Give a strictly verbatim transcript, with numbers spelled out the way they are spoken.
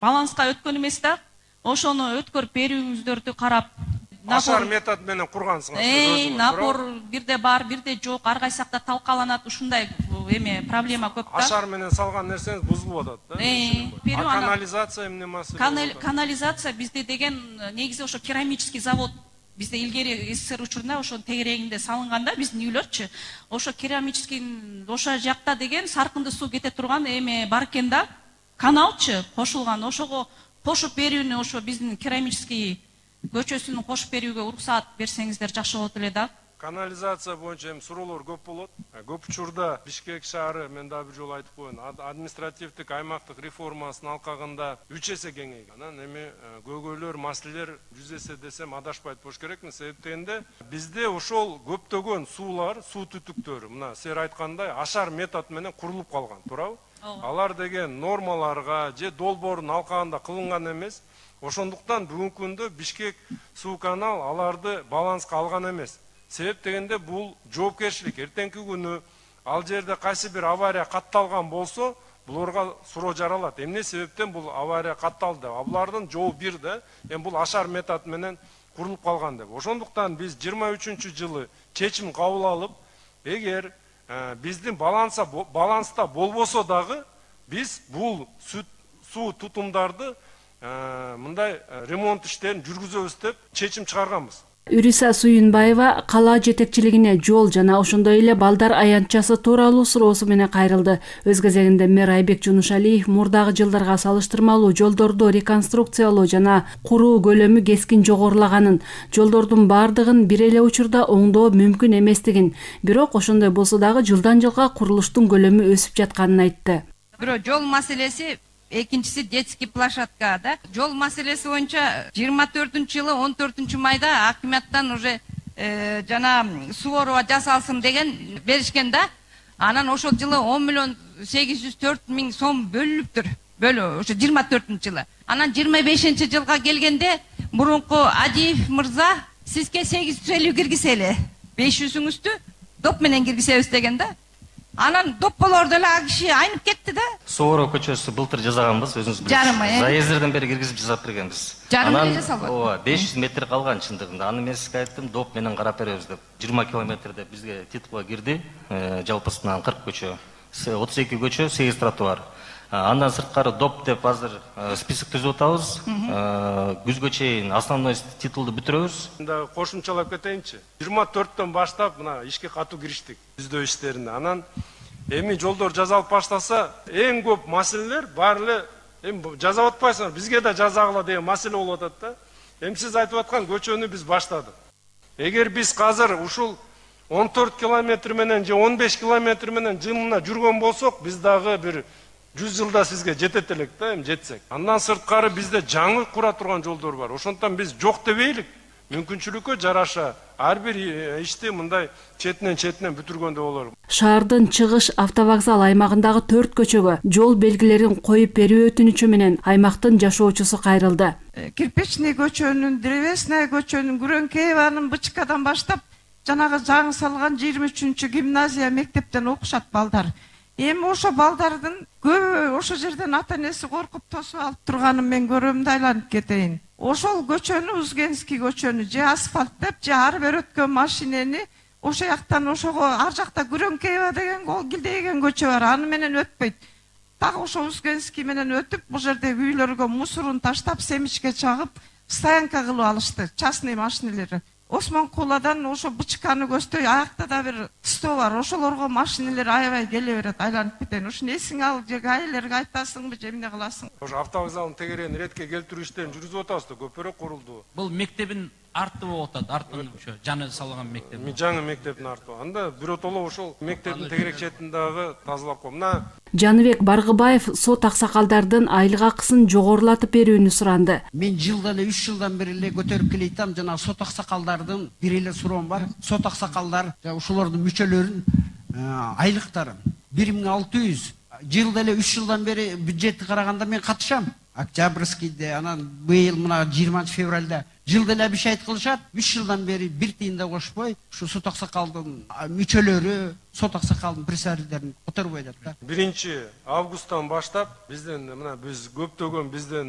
баланска өткөн эмес да, ошону өткөрүп берүүңүздөрдү карап, ашар метод менен кургансыңар. Эй, напор бирде бар, бирде жок, ар кайсы жакта талкаланат, ушундай эме проблема көп да. Ашар менен салган нерсеңиз бузулуп атат да. Эй, канализация эмне маселе? Канализация бизде деген негизи ошо керамический завод. Бизде илгери СССР учурунда ошо тегерегинде салынганда биздин үйлөрчү, ошо керамический ошо жакта деген саркынды суу кете турган эме бар экен да. Каналчы кошулган, ошого кошуп берүүнү ошо биздин керамический көчөсүнүн кошуп берүүгө уруксаат берсеңиздер жакшы болот эле да. Канализация боюнча эми суроолор көп болот. Көп учурда Бишкек шаары, мен дагы бир жолу айтып коеюн, административдик аймактык реформасынын алкагында үч эсе кеңейген. Анан эми көйгөйлөр, маселелер жүз эсе десем адашпайт болуш керекмин. Себеп дегенде бизде ошол көптөгөн суулар, суу түтүктөрү, мына силер айткандай ашар метод менен курулуп калган, туурабы? Алар деген нормаларга же долбоордун алкагында кылынган эмес. Ошондуктан бүгүнкү күндө Бишкек суу канал аларды баланска алган эмес. Себеп дегенде бул жоопкерчилик. Эртеңки күнү ал жерде кайсы бир авария катталган болсо, буларга суроо жаралат. Эмне себептен бул авария катталды? Булардын жообу бир да, эми бул ашар метод менен курулуп калган деп. Ошондуктан биз жыйырма үчүнчү жылы чечим кабыл алып, эгер биздин баланса баланста болбосо дагы биз бул суу тутумдарды мындай ремонт иштерин жүргүзөбүз деп чечим чыгарганбыз. Үриса Суюнбаева кала жетекчилигине жол жана ошондой эле балдар аянтчасы тууралуу суроосу менен кайрылды. Өз кезегинде мэр Айбек Жунушалиев мурдагы жылдарга салыштырмалуу жолдорду реконструкциялоо жана куруу көлөмү кескин жогорулаганын, жолдордун бардыгын бир эле учурда оңдоо мүмкүн эместигин, бирок ошондой болсо дагы жылдан жылга курулуштун көлөмү өсүп жатканын айтты. Бирок жол маселеси, экинчиси детский площадка да. Жол маселеси боюнча жыйырма төртүнчү жылы он төртүнчү майда акиматтан уже жана суу оруба жасалсын деген беришкен да. Анан ошол жылы он миллион сегиз жүз төрт миң сом бөлүнүптүр. Бөлү ошо жыйырма төртүнчү жылы. Анан жыйырма бешинчи жылга келгенде мурунку Адиев мырза сизге сегиз жүз элүү киргизели. беш жүзүңүздү доп менен киргизебиз деген да. Анан доп болорду эле а киши айнып кетти да. Сооро көчөсү былтыр жасаганбыз, өзүңүз билесиз. Заездерден бери киргизип жасап бергенбиз. Жарым жасалган. Ооба, беш жүз метр калган чындыгында. Аны мен сизге айттым, доп менен карап беребиз деп. жыйырма километрде бизге титулга кирди. Жалпысынан кырк көчө, отуз эки көчө, сегиз тротуар. Андан сырткары доп деп азыр список түзүп атабыз. Күзгө чейин основной титулду бүтүрөбүз. Да кошумчалап кетейинчи. жыйырма төрттөн баштап мына ишке катуу кириштик. Түздөө иштерине. Анан эми жолдор жасалып баштаса, эң көп маселелер бар эле эми жасап атпайсыңар, бизге да жасагыла деген маселе болуп атат да. Эми сиз айтып аткан көчөнү биз баштадык. Эгер биз азыр ушул он төрт километр менен же он беш километр менен жылына жүргөн болсок, биз дагы бир жүз жылда сизге жетет элек да, эми жетсек. Андан сырткары бизде жаңы кура турган жолдор бар. Ошондон биз жок дебейлик. Мүмкүнчүлүккө жараша ар бир ишти мындай четинен четинен бүтүргөндө болор. Шаардын чыгыш автовокзал аймагындагы төрт көчөгө жол белгилерин коюп берүү өтүнүчү менен аймактын жашоочусу кайрылды. Кирпичный көчөнүн, древесная көчөнүн, Күрөңкееванын Бычкадан баштап жанагы жаңы салган жыйырма үчүнчү гимназия мектептен окушат балдар. Эми ошо балдардын көбү ошо жерден ата энеси коркуп тосуп алып турганын мен көрөм да айланып кетейин. Ошол көчөнү, Узгенский көчөнү же асфальт деп, же ар бир өткөн машинени ошо жактан ошого ар жакта Күрөңкеева деген килдеген көчө бар, аны менен өтпөйт. Так ошо Узгенский менен өтүп, бул жердеги үйлөргө мусорун таштап, семичке чагып, стоянка кылып алышты, частный машинелери. Осмон Куладан ошо Бычканы көздөй аякта да бир стоо бар. Ошолорго машинелер аябай келе берет, айланып кетейин. Ушуну эсиңе алып, же гаилерге айтасыңбы, же эмне кыласың? Ошо автовокзалдын тегерегин ретке келтирүү иштерин жүргүзүп атабыз да, көпүрө курулду. Бул мектебин арты болуп атат, артын ошо жаңы салган мектеп. Жаңы мектептин арты. Анда биротоло ошол мектептин тегерек четин дагы тазалап коюп. Мына Жаныбек Баргыбаев сот аксакалдардын айлык акысын жогорулатып берүүнү суранды. Мен жылдан эле үч жылдан бери эле көтөрүп келейтам, жана сот аксакалдардын бир эле суроом бар. Сот аксакалдар ушулардын мүчөлөрүнүн айлыктары бир миң алты жүз, жылда эле үч жылдан бери бюджетти караганда мен катышам. Октябрьскийде, анан быйыл мына жыйырманчы февралда жылда эле бишайт кылышат. үч жылдан бери бир тыйын да кошпой, ушу сот аксакалдын мүчөлөрү, сот аксакалдын представительдерин которбой атат да. биринчи августтан баштап бизден мына биз көптөгөн бизден